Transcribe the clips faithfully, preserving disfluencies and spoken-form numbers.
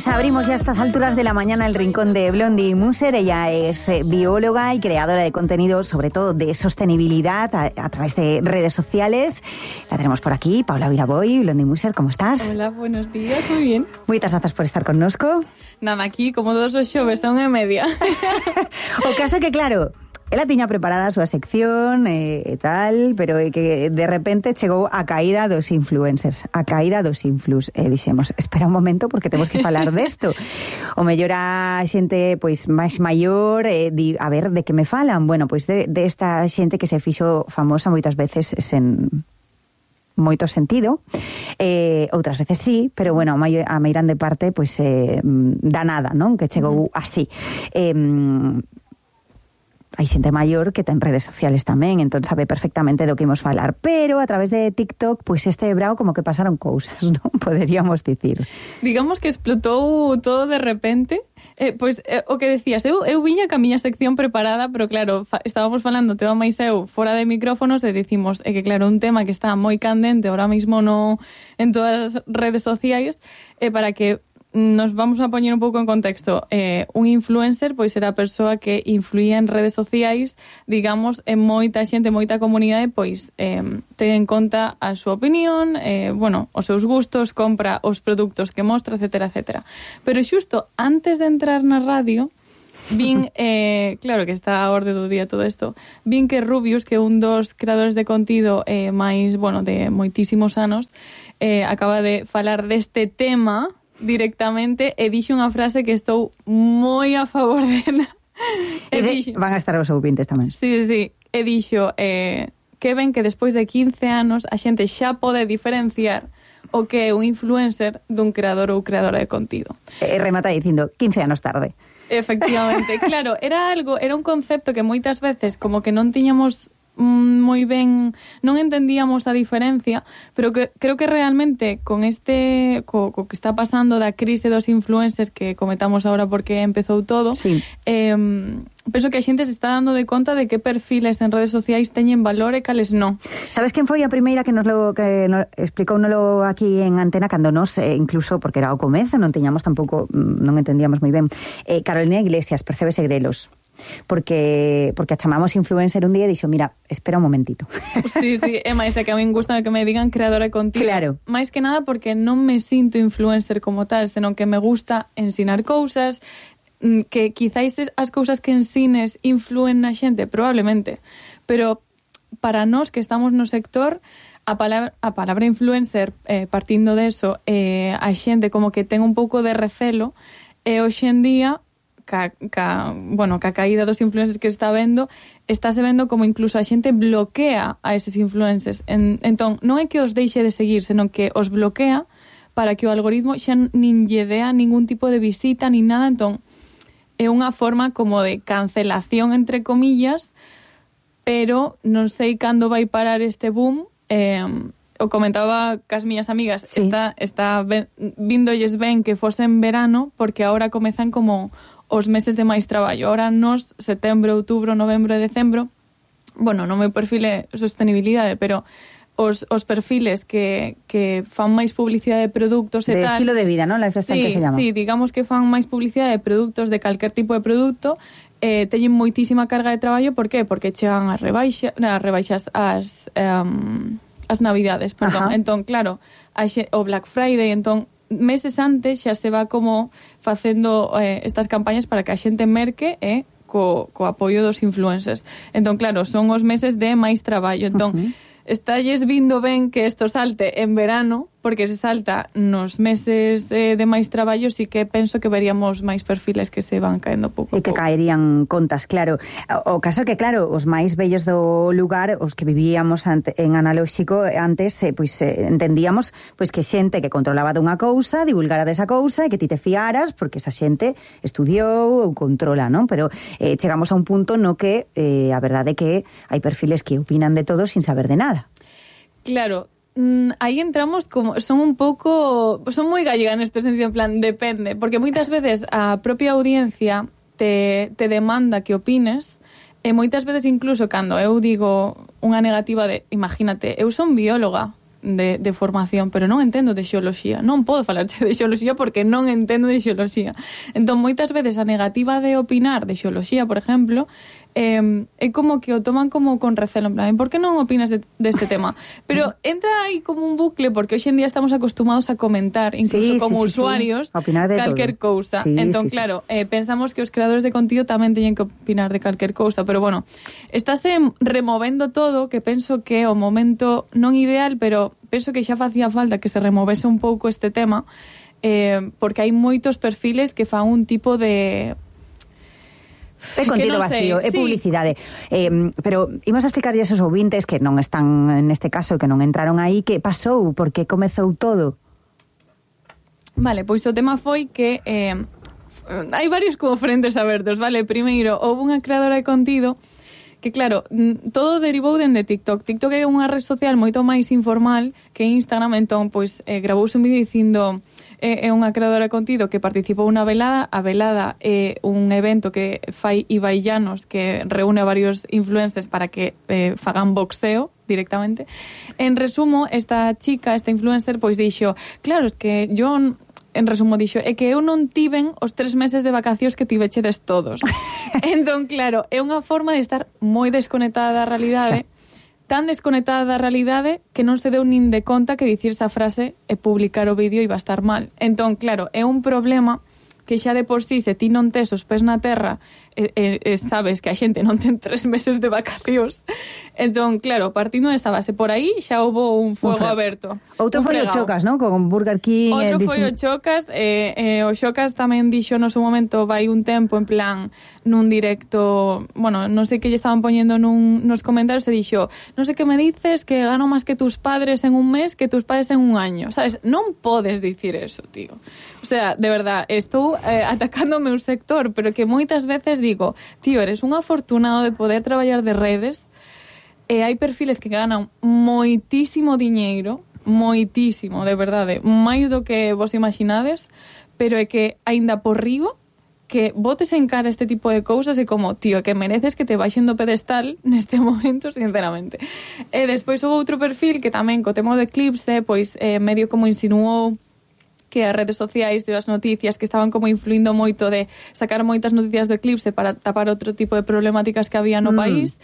Pues abrimos ya a estas alturas de la mañana el rincón de Blondie Muser. Ella es eh, bióloga y creadora de contenido, sobre todo de sostenibilidad a, a través de redes sociales. La tenemos por aquí, Paula Viraboy. Blondie Muser, ¿cómo estás? Hola, buenos días, muy bien. Muchas gracias por estar con nosco. Nada, aquí como todos os xoves, a unha e media. O caso que, claro, ela tiña preparada a súa sección e eh, tal, pero é que de repente chegou a caída dos influencers, a caída dos influs. E dixemos, espera un momento porque temos que falar desto. O mellor a xente pois máis maior, eh, di, a ver, de que me falan? Bueno, pois de, de esta xente que se fixo famosa moitas veces sen moito sentido, eh, outras veces sí, pero bueno, a, mai, a meirande parte pois eh, da nada, non? Que chegou uh-huh. así. Eh, hai xente maior que ten redes sociales tamén, entón sabe perfectamente do que imos falar, pero a través de TikTok, pois este brao como que pasaron cousas, non? Poderíamos dicir. Digamos que explotou todo de repente. Eh, pois, eh, o que decías, eu, eu viña ca miña sección preparada, pero claro, fa, estábamos falando tema máis eu fora de micrófonos e dicimos, é eh, que claro, un tema que está moi candente ahora mismo no, en todas as redes sociais, eh, para que nos vamos a poñer un pouco en contexto. Eh, un influencer, pois era a persoa que influía en redes sociais, digamos, en moita xente, moita comunidade, pois eh, ten en conta a súa opinión, eh, bueno, os seus gustos, compra os produtos que mostra, etcétera, etcétera. Pero xusto antes de entrar na radio, vin, eh, claro que está a orde do día todo isto, vin que Rubius, que é un dos creadores de contido eh, máis, bueno, de moitísimos anos, eh, acaba de falar deste tema directamente e dixo unha frase que estou moi a favor dela. E de, dixo, van a estar os ouvintes tamén. Sí, sí, sí. E dixo eh, que ven que despois de quince anos a xente xa pode diferenciar o que é un influencer dun creador ou creadora de contido. E remata dicindo quince anos tarde. Efectivamente, claro, era algo, era un concepto que moitas veces como que non tiñamos moi ben, non entendíamos a diferencia, pero que creo que realmente con este co, co que está pasando da crise dos influencers que comentamos agora porque empezou todo, sí. eh, penso que a xente se está dando de conta de que perfiles en redes sociais teñen valor e cales non. Sabes quen foi a primeira que nos lo que nos explicouno aquí en antena cando nos, eh, incluso porque era o comezo, non teñamos tampouco, non entendíamos moi ben, eh, Carolina Iglesias, Percebes e Grelos. Porque porque a chamamos influencer un día e dixo, mira, espera un momentito. Sí, sí, é máis, é que a min gusta que me digan creadora de contido. Claro. Máis que nada porque non me sinto influencer como tal, senón que me gusta ensinar cousas, que quizáis as cousas que ensines influen na xente, probablemente, pero para nós que estamos no sector, a palabra, a palabra influencer, eh, partindo de eso, eh, a xente como que ten un pouco de recelo, e hoxe en día Ca, ca, bueno, ca caída dos influencers que está vendo, estáse vendo como incluso a xente bloquea a eses influencers. En, entón, non é que os deixe de seguir, senón que os bloquea para que o algoritmo xa nin lle dea ningún tipo de visita ni nada. Entón, é unha forma como de cancelación, entre comillas, pero non sei cando vai parar este boom. Eh, o comentaba cas miñas amigas, sí. está, está ben, vindolles ben que fose en verano, porque ahora comezan como os meses de máis traballo. Ahora nos, setembro, outubro, novembro e decembro, bueno, non meu perfil é sostenibilidade, pero os, os perfiles que, que fan máis publicidade de produtos e de tal... De estilo de vida, non? Lifestyle, sí, que se llama. Sí, digamos que fan máis publicidade de produtos, de calquer tipo de produto, eh, teñen moitísima carga de traballo. Por qué? Porque chegan as rebaixas, as rebaixas as, um, as navidades, perdón. Ajá. Entón, claro, a xe, o Black Friday, entón, meses antes xa se va como facendo eh, estas campañas para que a xente merque e eh, co, co apoio dos influencers. Entón, claro, son os meses de máis traballo. Entón, uh-huh. estalles vindo ben que isto salte en verano, porque se salta nos meses de, de máis traballo, sí que penso que veríamos máis perfiles que se van caendo pouco a pouco. E que caerían contas, claro. O caso que, claro, os máis bellos do lugar, os que vivíamos ante, en analóxico antes, eh, pois eh, entendíamos pois que xente que controlaba dunha cousa, divulgara desa cousa e que ti te fiaras, porque esa xente estudiou ou controla, non? Pero eh, chegamos a un punto no que eh, a verdade é que hai perfiles que opinan de todo sin saber de nada. Claro. Aí entramos como, son un pouco, son moi gallega neste sentido, en plan, depende, porque moitas veces a propia audiencia te, te demanda que opines, e moitas veces incluso cando eu digo unha negativa de, imagínate, eu son bióloga, de, de formación, pero non entendo de xeoloxía. Non podo falarche de xeoloxía porque non entendo de xeoloxía. Entón, moitas veces a negativa de opinar de xeoloxía, por exemplo, eh, é como que o toman como con recelo, en plan, por que non opinas de, deste tema? Pero entra aí como un bucle, porque hoxe en día estamos acostumados a comentar, incluso sí, como sí, sí, usuarios, sí. calquer cousa. Sí, entón, sí, claro, eh, pensamos que os creadores de contido tamén teñen que opinar de calquer cousa, pero bueno, estáse removendo todo, que penso que é o momento non ideal, pero penso que xa facía falta que se removese un pouco este tema, eh, porque hai moitos perfiles que fan un tipo de... É contido vacío, é sí. publicidade. Eh, pero imos a explicar esos ouvintes que non están neste caso, que non entraron aí, que pasou, porque comezou todo. Vale, pois o tema foi que eh, hai varios como frentes abertos, vale? Primeiro, houve unha creadora de contido que, claro, todo derivou dende TikTok. TikTok é unha red social moito máis informal que Instagram, entón, pois, eh, gravouse un vídeo dicindo é unha creadora de contido que participou unha velada. A velada é un evento que fai Ibai Llanos, que reúne a varios influencers para que eh, fagan boxeo directamente. En resumo, esta chica, esta influencer, pois dixo, claro, es que yo, en resumo, dixo, é que eu non tiven os tres meses de vacacións que tivechedes todos. Entón, claro, é unha forma de estar moi desconectada da realidade, tan desconectada da realidade que non se deu nin de conta que dicir esa frase e publicar o vídeo iba a estar mal. Entón, claro, é un problema que xa de por sí, se ti non tes os pés na terra, e, e, e sabes que a xente non ten tres meses de vacacións. Entón, claro, partindo desa base, por aí xa houbo un fuego un aberto. Outro foi o Chocas, non? Con Burger King. Outro foi o Chocas, e eh, eh, o Chocas tamén dixo no seu momento, vai un tempo en plan, nun directo, bueno, non sei que lle estaban poñendo nun, nos comentarios, e dixo, non sei que me dices que gano máis que tus padres en un mes, que tus padres en un año, sabes? Non podes dicir eso, tío. O sea, de verdad, estou eh, atacando o meu sector, pero que moitas veces digo, tío, eres un afortunado de poder traballar de redes, e hai perfiles que ganan moitísimo diñeiro, moitísimo, de verdade, máis do que vos imaginades, pero é que aínda por riba que botes en cara este tipo de cousas e como, tío, que mereces que te baixen do pedestal neste momento, sinceramente. E despois houve outro perfil que tamén, co tema do eclipse, pois eh, medio como insinuou que as redes sociais e as noticias que estaban como influindo moito de sacar moitas noticias do eclipse para tapar outro tipo de problemáticas que había no mm. país,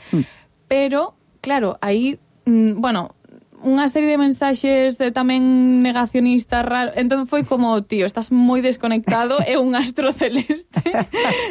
pero, claro, aí, mm, bueno, unha serie de mensaxes de tamén negacionistas raro, entón foi como, tío, estás moi desconectado, é un astro celeste,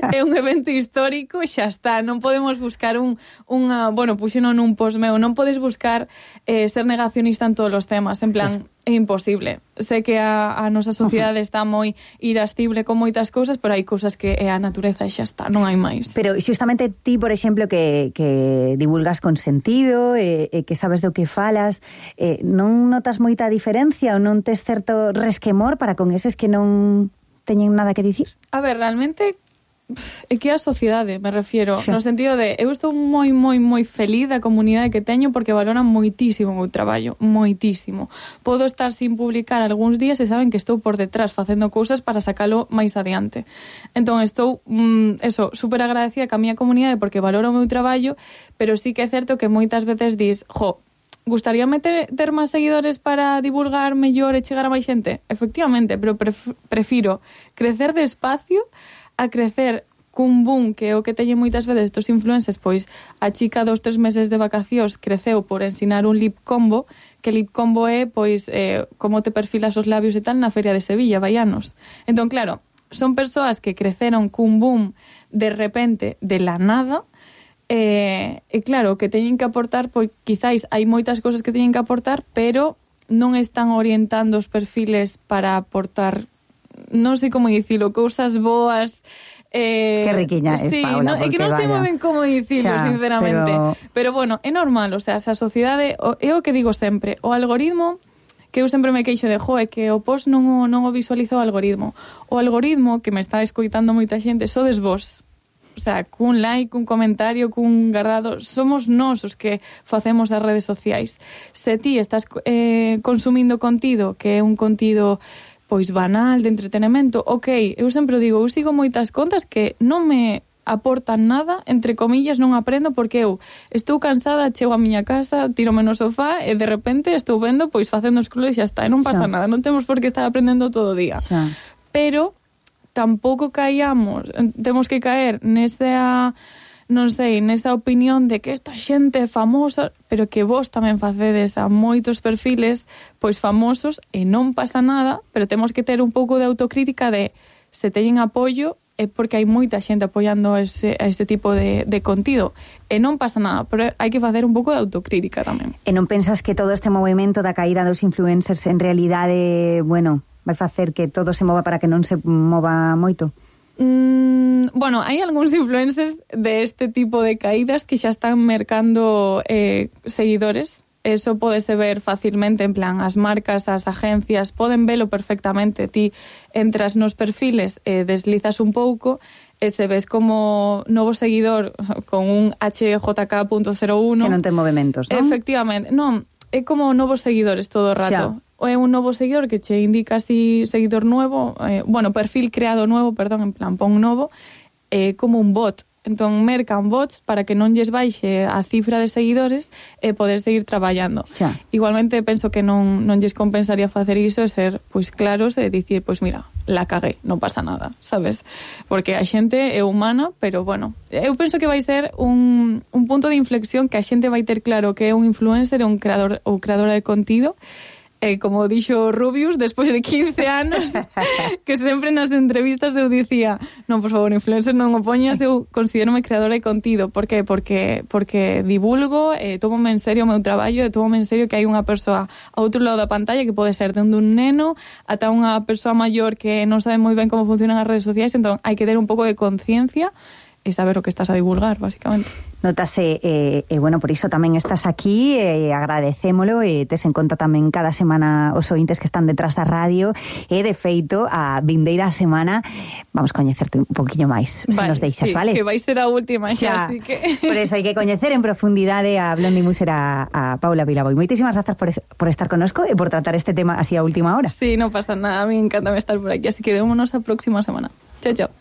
é un evento histórico, xa está, non podemos buscar un, unha, bueno, puxeno nun post meu, non podes buscar eh, ser negacionista en todos os temas, en plan, é imposible. Sé que a, a nosa sociedade está moi irascible con moitas cousas, pero hai cousas que é a natureza e xa está, non hai máis. Pero xustamente ti, por exemplo, que, que divulgas con sentido, e, e que sabes do que falas, eh, non notas moita diferencia ou non tes certo resquemor para con eses que non teñen nada que dicir? A ver, realmente é que a sociedade, me refiero, sí. No sentido de, eu estou moi, moi, moi feliz da comunidade que teño porque valoran moitísimo o meu traballo, moitísimo. Podo estar sin publicar algúns días e saben que estou por detrás facendo cousas para sacalo máis adiante. Entón, estou, mm, eso, super agradecida ca miña comunidade porque valoro o meu traballo, pero sí que é certo que moitas veces dis, jo, gustaríame ter, ter máis seguidores para divulgar mellor e chegar a máis xente? Efectivamente, pero pref- prefiro crecer despacio a crecer cun boom, que é o que teñen moitas veces estos influencers, pois a chica dos tres meses de vacacións creceu por ensinar un lip combo, que lip combo é, pois, eh, como te perfilas os labios e tal na Feria de Sevilla, vaianos. Entón, claro, son persoas que creceron cun boom de repente, de la nada, e, e claro, que teñen que aportar, pois quizáis hai moitas cousas que teñen que aportar, pero non están orientando os perfiles para aportar, non sei como dicilo, cousas boas. Eh, que riquiña es, sí, Paula, no, é que non sei moi ben como dicilo, xa, sinceramente, pero... pero bueno, é normal, o sea, esa sociedade, é o que digo sempre, o algoritmo, que eu sempre me queixo de, jo, é que o post non o, non o visualiza o algoritmo, o algoritmo, que me está escoitando moita xente, sodes vos, o sea, cun like, cun comentario, cun guardado, somos nós os que facemos as redes sociais. Se ti estás eh, consumindo contido, que é un contido pois banal, de entretenimento, ok, eu sempre digo, eu sigo moitas contas que non me aportan nada, entre comillas, non aprendo, porque eu estou cansada, chego a miña casa, tírome no sofá e de repente estou vendo, pois facendo scroll e xa está, e non pasa xa. nada, non temos por que estar aprendendo todo o día. Xa. Pero tampouco caíamos, temos que caer nesa, non sei, nesa opinión de que esta xente é famosa, pero que vos tamén facedes a moitos perfiles pois famosos e non pasa nada, pero temos que ter un pouco de autocrítica de se teñen apoio é porque hai moita xente apoiando a ese, a este tipo de, de contido. E non pasa nada, pero hai que facer un pouco de autocrítica tamén. E non pensas que todo este movimento da caída dos influencers en realidade, bueno, vai facer que todo se mova para que non se mova moito? Mm, bueno, hai algúns influencers de este tipo de caídas que xa están mercando eh, seguidores. Eso podese ver facilmente, en plan, as marcas, as agencias poden velo perfectamente. Ti entras nos perfiles e deslizas un pouco e se ves como novo seguidor con un H J K punto cero uno que non ten movimentos, non? Efectivamente, non, é como novos seguidores todo o rato. Xa. É un novo seguidor que che indica así seguidor nuevo, eh, bueno, perfil creado nuevo, perdón, en plan, pon novo, é eh, como un bot. Entón, mercan bots para que non lles baixe a cifra de seguidores e poder seguir traballando. Xa. Igualmente, penso que non, non lles compensaría facer iso e ser, pois, claros e dicir, pois, mira, la cagué, non pasa nada, sabes? Porque a xente é humana, pero, bueno, eu penso que vai ser un, un punto de inflexión que a xente vai ter claro que é un influencer, un creador ou creadora de contido. E como dixo Rubius, despois de quince anos, que sempre nas entrevistas eu dicía, non, por favor, influencer non o poñas, eu considérome creadora de contido. Por que? Porque, porque divulgo, e tómome en serio o meu traballo, e tómome en serio que hai unha persoa ao outro lado da pantalla que pode ser dende un neno ata unha persoa maior que non sabe moi ben como funcionan as redes sociais, entón hai que ter un pouco de conciencia e saber o que estás a divulgar, basicamente. Notase, e eh, eh, bueno, por iso tamén estás aquí, e eh, agradecémolo, e tes en conta tamén cada semana os ointes que están detrás da radio, e de feito a vindeira semana vamos coñecerte un poquinho máis, vale, se nos deixas, sí, vale? Que vai ser a última xa, así que... Por eso hai que coñecer en profundidade a Blondie Muser, a, a Paula Vilaboy. Moitísimas grazas por, es, por estar connosco e por tratar este tema así a última hora. Sí, non pasa nada, a mí encanta estar por aquí, así que vémonos a próxima semana. Chao, chao.